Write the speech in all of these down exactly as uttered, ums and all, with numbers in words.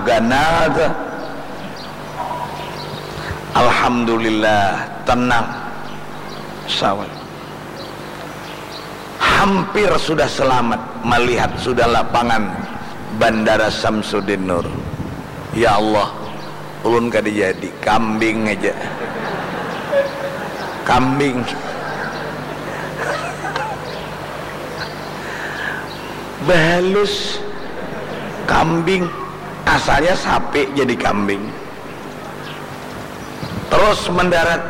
Ganal tu. Alhamdulillah, tenang. Sawal. Hampir sudah selamat melihat sudah lapangan Bandara Samsudin Nur. Ya Allah, ulun kada jadi, kambing aja. Kambing. Bahalus kambing, asalnya sapi jadi kambing. Terus mendarat,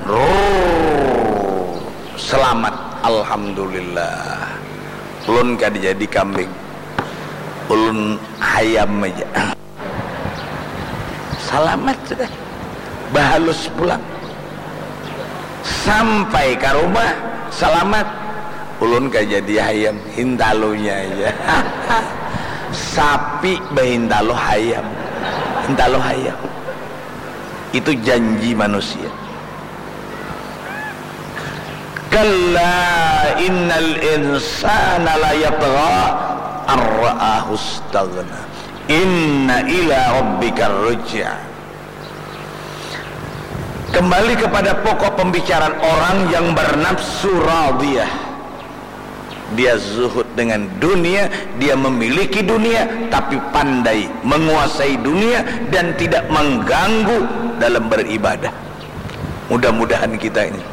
rrrr, selamat, alhamdulillah. Ulun kada jadi kambing, ulun hayam aja. Salamat sudah. Bahalus pulang. Sampai ka rumah, salamat. Ulun kada jadi hayam, hintalunya aja. Sapi bahintalu hayam. Hintalu hayam. Itu janji manusia. Kalla innal insana layatgha an ra'ahu istaghna. Inna ila rabbikar ruj'a. Kembali kepada pokok pembicaraan, orang yang bernafsu radiyah. Dia zuhud dengan dunia, dia memiliki dunia, tapi pandai menguasai dunia dan tidak mengganggu dalam beribadah. Mudah-mudahan kita ini.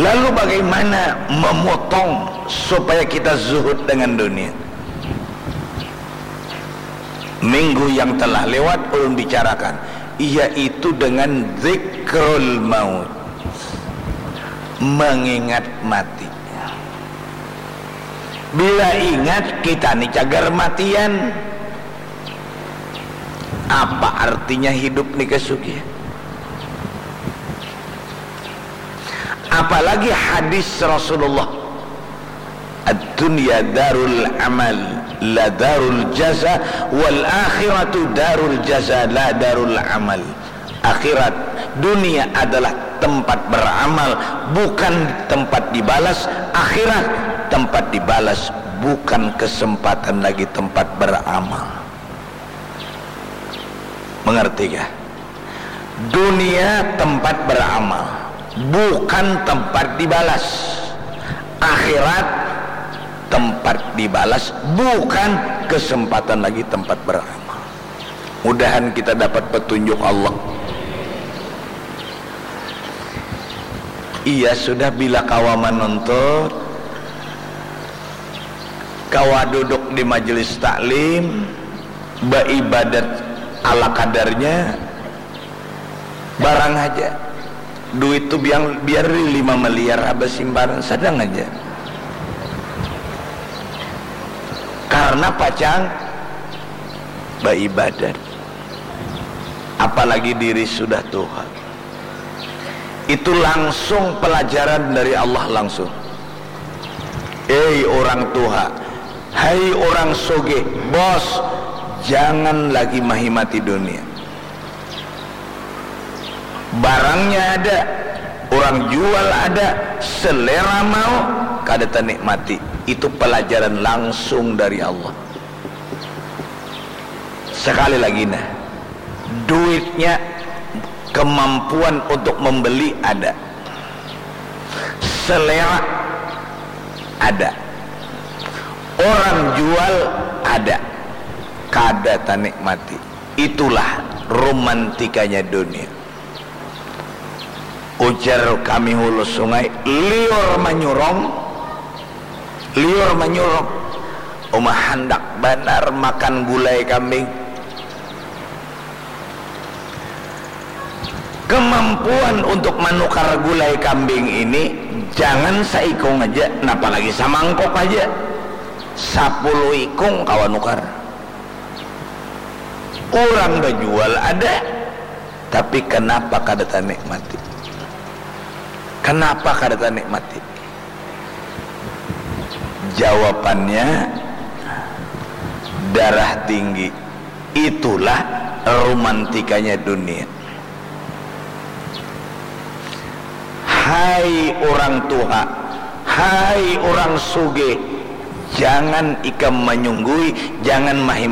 Lalu bagaimana memotong supaya kita zuhud dengan dunia? Minggu yang telah lewat ulun bicarakan, yaitu dengan zikrul maut, mengingat mati. Bila ingat kita ni cagar matian, apa artinya hidup ni kasugihan? Apalagi hadis Rasulullah, "Ad-dunya darul amal, la darul jaza, wal akhiratu darul jaza, la darul amal." Akhirat, dunia adalah tempat beramal, bukan tempat dibalas. Akhirat, tempat dibalas, bukan kesempatan lagi tempat beramal. Mengertikah? Dunia tempat beramal, bukan tempat dibalas. Akhirat tempat dibalas, bukan kesempatan lagi tempat beramal. Mudahan kita dapat petunjuk Allah. Iya, sudah, bila kawa manuntut, kawa duduk di majelis taklim, baibadat ala kadarnya, barang haja. Duit tu biang, biar lima miliar habis simpanan, sadang haja. Karena pacang baibadat. Apalagi diri sudah tuha. Itu langsung pelajaran dari Allah langsung. Hei orang tuha, hai orang sugih, bos, jangan lagi mahimati dunia. Barangnya ada, orang jual ada, selera mau, kada tanikmati. Itu pelajaran langsung dari Allah. Sekali lagi, nah, duitnya, kemampuan untuk membeli ada, selera ada, orang jual ada, kada tanikmati. Itulah romantikanya dunia. Ujar kami Hulu Sungai, liur manyurung, liur manyurung. Uma handak banar makan gulai kambing. Kemampuan untuk manukar gulai kambing ini jangan saikung aja, napa lagi samangkok aja. Sapuluh ikung kawa nukar. Urang bajual ada, tapi kenapa kada tanikmati? Kenapa kada tanikmati? Jawabannya, darah tinggi. Itulah romantikanya dunia. Hai orang tuha, hai orang sugih, jangan ikam manyunggui, jangan mahim